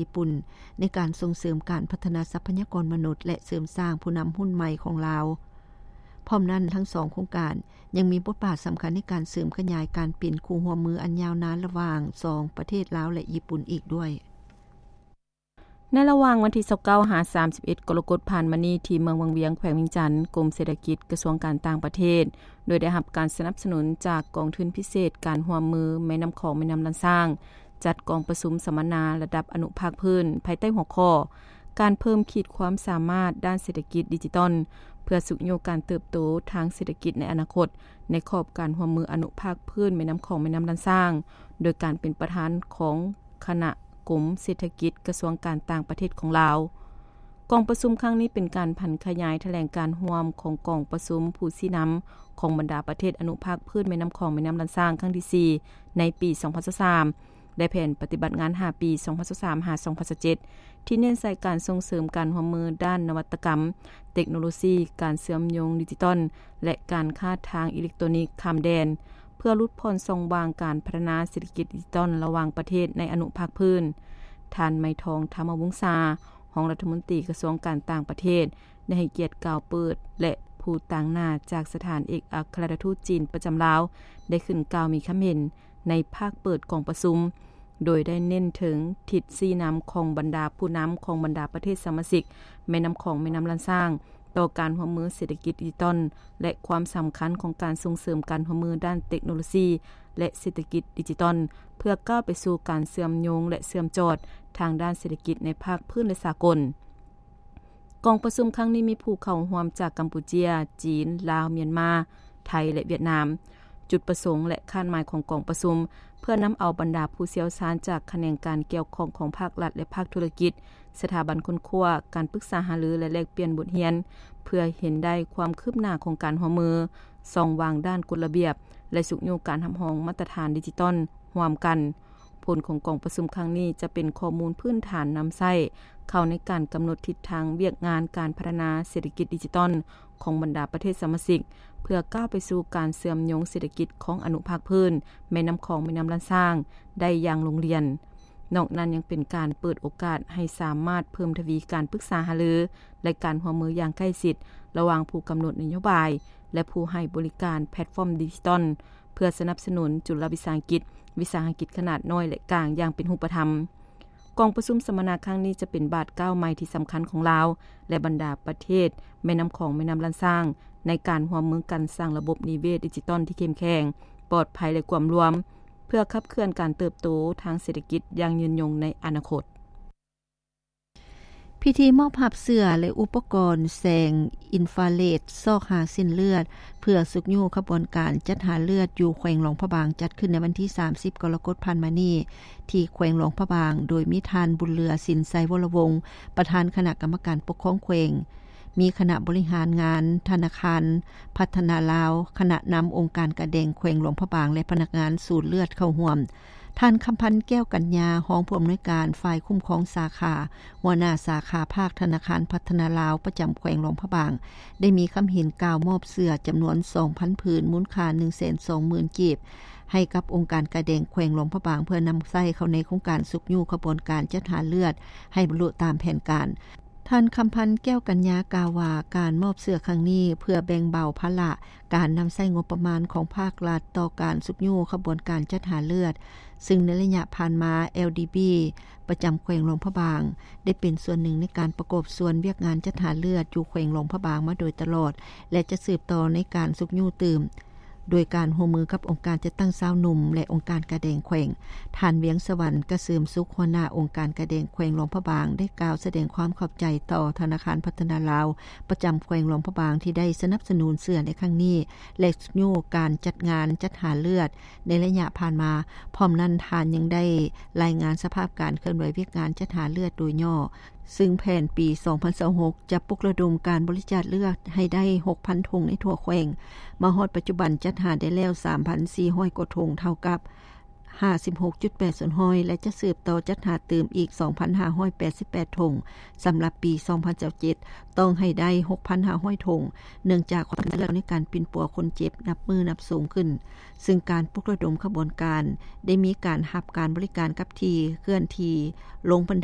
ຍີ່ປຸ່ນ ໃນການສົ່ງເສີມການພັດທະນາຊັບພະຍາກອນມະນຸດ ແລະ ເສີມສ້າງຜູ້ນຳຮຸ່ນໃໝ່ຂອງລາວ. ພ້ອມນັ້ນ, ທັງສອງໂຄງການຍັງມີບົດບາດສຳຄັນໃນການເສີມຂະຫຍາຍການເປັນຄູ່ຮ່ວມມືອັນຍາວນານລະຫວ່າງສອງປະເທດລາວ ແລະ ຍີ່ປຸ່ນອີກດ້ວຍ. ໃນລະຫວ່າງວັນທີຊາວເກົ້າຫາສາມສິບເອັດ ກໍລະກົດຜ່ານມານີ້ ທີ່ເມືອງວັງວຽງ ແຂວງວຽງຈັນ, ກົມເສດຖະກິດ ກະຊວງການຕ່າງປະເທດ ໂດຍໄດ້ຮັບການສະໜັບສະໜູນຈາກກອງທຶນພິເສດການຮ່ວມມືແມ່ນ້ຳຂອງ ແມ່ນ້ຳລຳຊາງ ຈັດກອງປະຊຸມສຳມະນາລະດັບອະນຸພາກພື້ນ ພາຍໃຕ້ຫົວຂໍ້ ການເພີ່ມຂີດຄວາມສາມາດດ້ານເສດຖະກິດດິຈິຕອນ ເພື່ອຊຸກຍູ້ການເຕີບໂຕທາງເສດຖະກິດໃນອະນາຄົດ ໃນຂອບການຮ່ວມມືອະນຸພາກພື້ນແມ່ນ້ຳຂອງ ແມ່ນ້ຳລຳຊາງ ໂດຍການເປັນປະທານຂອງຄະນະ ກົມເສດຖະກິດ ກະຊວງການຕ່າງປະເທດຂອງລາວ. ກອງປະຊຸມຄັ້ງນີ້ເປັນການຜັນຂະຫຍາຍຖະແຫຼງການຮ່ວມຂອງກອງປະຊຸມຜູ້ຊີ້ນຳຂອງບັນດາປະເທດອະນຸພາກພື້ນແມ່ນ້ຳຂອງ ແມ່ນ້ຳລຳຊາງ ຄັ້ງທີສີ່ ໃນປີສອງພັນຊາວສາມ ແລະ ແຜນປະຕິບັດງານຫ້າປີ ສອງພັນຊາວສາມ ຫາ ສອງພັນຊາວເຈັດ ທີ່ເນັ້ນໃສ່ການສົ່ງເສີມການຮ່ວມມືດ້ານນະວັດຕະກຳ, ເຕັກໂນໂລຊີ, ການເຊື່ອມໂຍງດິຈິຕອນ ແລະ ການຄ້າທາງອີເລັກໂຕນິກຂ້າມແດນ ເພື່ອຫຼຸດຜ່ອນຊ່ອງວ່າງການພັດທະນາເສດຖະກິດດິຈິຕອນລະຫວ່າງປະເທດໃນອະນຸພາກພື້ນ. ທ່ານ ໄມທອງ ທຳມະວົງສາ, ຮອງລັດຖະມົນຕີກະຊວງການຕ່າງປະເທດ ໄດ້ໃຫ້ກຽດກ່າວເປີດ ແລະ ຜູ້ຕາງໜ້າຈາກສະຖານເອກອັກຄະລັດຖະທູດຈີນປະຈຳລາວ ໄດ້ຂຶ້ນກ່າວມີຄຳເຫັນໃນພາກເປີດກອງປະຊຸມ, ໂດຍໄດ້ເນັ້ນເຖິງທິດຊີ້ນຳຂອງບັນດາຜູ້ນຳຂອງບັນດາປະເທດສະມາຊິກແມ່ນ້ຳຂອງ ແມ່ນ້ຳລຳຊາງ ຕໍ່ການຮ່ວມມືເສດຖະກິດດິຈິຕອນ ແລະ ຄວາມສຳຄັນຂອງການສົ່ງເສີມການຮ່ວມມືດ້ານເຕັກໂນໂລຊີ ແລະ ເສດຖະກິດດິຈິຕອນ ເພື່ອກ້າວໄປສູ່ການເຊື່ອມໂຍງ ແລະ ເຊື່ອມຈອດທາງດ້ານເສດຖະກິດໃນພາກພື້ນ ແລະ ສາກົນ. ກອງປະຊຸມຄັ້ງນີ້ມີຜູ້ເຂົ້າຮ່ວມຈາກກຳປູເຈຍ, ຈີນ, ລາວ, ມຽນມາ, ໄທ ແລະ ຫວຽດນາມ. ຈຸດປະສົງ ແລະ ຄາດໝາຍຂອງກອງປະຊຸມ ເພື່ອນຳເອົາບັນດາຜູ້ຊ່ຽວຊານຈາກຂະແໜງການກ່ຽວຂ້ອງຂອງພາກລັດ ແລະ ພາກທຸລະກິດ, ສະຖາບັນຄົ້ນຄວ້າ, ການປຶກສາຫາລື ແລະ ແລກປ່ຽນບົດຮຽນ ເພື່ອເຫັນໄດ້ຄວາມຄືບໜ້າຂອງການຮ່ວມມື, ຊ່ອງວ່າງດ້ານກົດລະບຽບ ແລະ ຊຸກຍູ້ການຮັບຮອງມາດຕະຖານດິຈິຕອນຮ່ວມກັນ. ຜົນຂອງກອງປະຊຸມຄັ້ງນີ້ຈະເປັນຂໍ້ມູນພື້ນຖານນຳໃຊ້ເຂົ້າໃນການກຳນົດທິດທາງວຽກງານການພັດທະນາເສດຖະກິດດິຈິຕອນຂອງບັນດາປະເທດສະມາຊິກ ເພື່ອກ້າວໄປສູ່ການເຊື່ອມໂຍງເສດຖະກິດຂອງອະນຸພາກພື້ນແມ່ນ້ຳຂອງ ແມ່ນ້ຳລຳຊາງໄດ້ຢ່າງລົງລຽນ. ນອກນັ້ນຍັງເປັນການເປີດໂອກາດໃຫ້ສາມາດເພີ່ມທະວີການປຶກສາຫາລື ແລະ ການຮ່ວມມືຢ່າງໃກ້ຊິດລະຫວ່າງຜູ້ກຳນົດນະໂຍບາຍ ແລະ ຜູ້ໃຫ້ບໍລິການແພລດຟອມດິຈິຕອນ ເພື່ອສະໜັບສະໜູນຈຸລະວິສາຫະກິດ, ວິສາຫະກິດຂະໜາດນ້ອຍ ແລະ ກາງຢ່າງເປັນຮູບປະທຳ. ກອງປະຊຸມສຳມະນາຄັ້ງນີ້ຈະເປັນບາດກ້າວໃໝ່ທີ່ສຳຄັນຂອງລາວ ແລະ ບັນດາປະເທດແມ່ນ້ຳຂອງ ແມ່ນ້ຳລຳຊາງ ໃນການຮ່ວມມືກັນສ້າງລະບົບນິເວດດິຈິຕອນທີ່ເຂັ້ມແຂງ, ປອດໄພ ແລະ ກວມລວມ ເພື່ອຂັບເຄື່ອນການເຕີບໂຕທາງເສດຖະກິດຢ່າງຍືນຍົງໃນອະນາຄົດ. ພິທີມອບຮັບເສື້ອ ແລະ ອຸປະກອນແສງອິນຟາເຣດຊອກຫາເສັ້ນເລືອດ ເພື່ອຊຸກຍູ້ຂະບວນການຈັດຫາເລືອດຢູ່ແຂວງຫຼວງພະບາງ ຈັດຂຶ້ນໃນວັນທີສາມສິບ ກໍລະກົດຜ່ານມານີ້ ທີ່ແຂວງຫຼວງພະບາງ, ໂດຍມີທ່ານ ບຸນເຫຼືອ ສິນໄຊວໍລະວົງ ປະທານຄະນະກຳມະການປົກຄອງແຂວງ, ມີຄະນະບໍລິຫານງານທະນາຄານພັດທະນາລາວ, ຄະນະນຳອົງການກາແດງແຂວງຫຼວງພະບາງ ແລະ ພະນັກງານສູນເລືອດເຂົ້າຮ່ວມ. ທ່ານ ຄຳພັນ ແກ້ວກັນຍາ, ຮອງຜູ້ອຳນວຍການຝ່າຍຄຸ້ມຄອງສາຂາ, ຫົວໜ້າສາຂາພາກທະນາຄານພັດທະນາລາວ ປະຈຳແຂວງຫຼວງພະບາງ, ໄດ້ມີຄຳເຫັນກ່າວມອບເສື້ອຈຳນວນສອງພັນຜືນ, ມູນຄ່າໜຶ່ງແສນສອງໝື່ນກີບ, ໃຫ້ກັບອົງການກາແດງແຂວງຫຼວງພະບາງ ເພື່ອນຳໃຊ້ເຂົ້າໃນໂຄງການຊຸກຍູ້ຂະບວນການຈັດຫາເລືອດໃຫ້ບັນລຸຕາມແຜນການ. ທ່ານ ຄຳພັນ ແກ້ວກັນຍາ ກ່າວວ່າ ການມອບເສື້ອຄັ້ງນີ້ເພື່ອແບ່ງເບົາພາລະການນຳໃຊ້ງົບປະມານຂອງພາກລັດຕໍ່ການຊຸກຍູ້ຂະບວນການຈັດຫາເລືອດ, ຊຶ່ງໃນໄລຍະຜ່ານມາ ແອລດີບີ ປະຈຳແຂວງຫຼວງພະບາງ ໄດ້ເປັນສ່ວນໜຶ່ງໃນການປະກອບສ່ວນວຽກງານຈັດຫາເລືອດຢູ່ແຂວງຫຼວງພະບາງມາໂດຍຕະຫຼອດ ແລະ ຈະສືບຕໍ່ໃນການຊຸກຍູ້ຕື່ມ. ໂດຍການຮ່ວມມືກັບອົງການຈັດຕັ້ງຊາວໜຸ່ມ ແລະ ອົງການກາແດງແຂວງ, ທ່ານ ວຽງສະຫວັນ ກະເສີມສຸກ, ຫົວໜ້າອົງການກາແດງແຂວງຫຼວງພະບາງ ໄດ້ກ່າວສະແດງຄວາມຂອບໃຈຕໍ່ທະນາຄານພັດທະນາລາວປະຈຳແຂວງຫຼວງພະບາງ ທີ່ໄດ້ສະໜັບສະໜູນເສື້ອໃນຄັ້ງນີ້ ແລະ ຊຸກຍູ້ການຈັດງານຈັດຫາເລືອດໃນໄລຍະຜ່ານມາ. ພ້ອມນັ້ນ, ທ່ານຍັງໄດ້ລາຍງານສະພາບການເຄື່ອນໄຫວວຽກງານຈັດຫາເລືອດໂດຍຫຍໍ້. ຊຶ່ງແຜນປີສອງພັນຊາວຫົກ ຈະປຸກລະດົມການບໍລິຈາກເລືອດໃຫ້ໄດ້ຫົກພັນຖົງໃນທົ່ວແຂວງ. ມາຮອດປັດຈຸບັນຈັດຫາໄດ້ແລ້ວສາມພັນສີ່ຮ້ອຍກວ່າຖົງ, ເທົ່າກັບຫ້າສິບຫົກຈຸດແປດສ່ວນຮ້ອຍ ແລະ ຈະສືບຕໍ່ຈັດຫາຕື່ມອີກສອງພັນຫ້າຮ້ອຍແປດສິບແປດຖົງ. ສຳລັບປີສອງພັນຊາວເຈັດ ຕ້ອງໃຫ້ໄດ້ຫົກພັນຫ້າຮ້ອຍຖົງ, ເນື່ອງຈາກຄວາມເຊື່ອໃນການປິ່ນປົວຄົນເຈັບນັບມື້ນັບສູງຂຶ້ນ. ຊຶ່ງການປຸກລະດົມຂະບວນການໄດ້ມີການຮັບການບໍລິການກັບທີ່ເຄື່ອນທີ່, ລົງບັນໄດ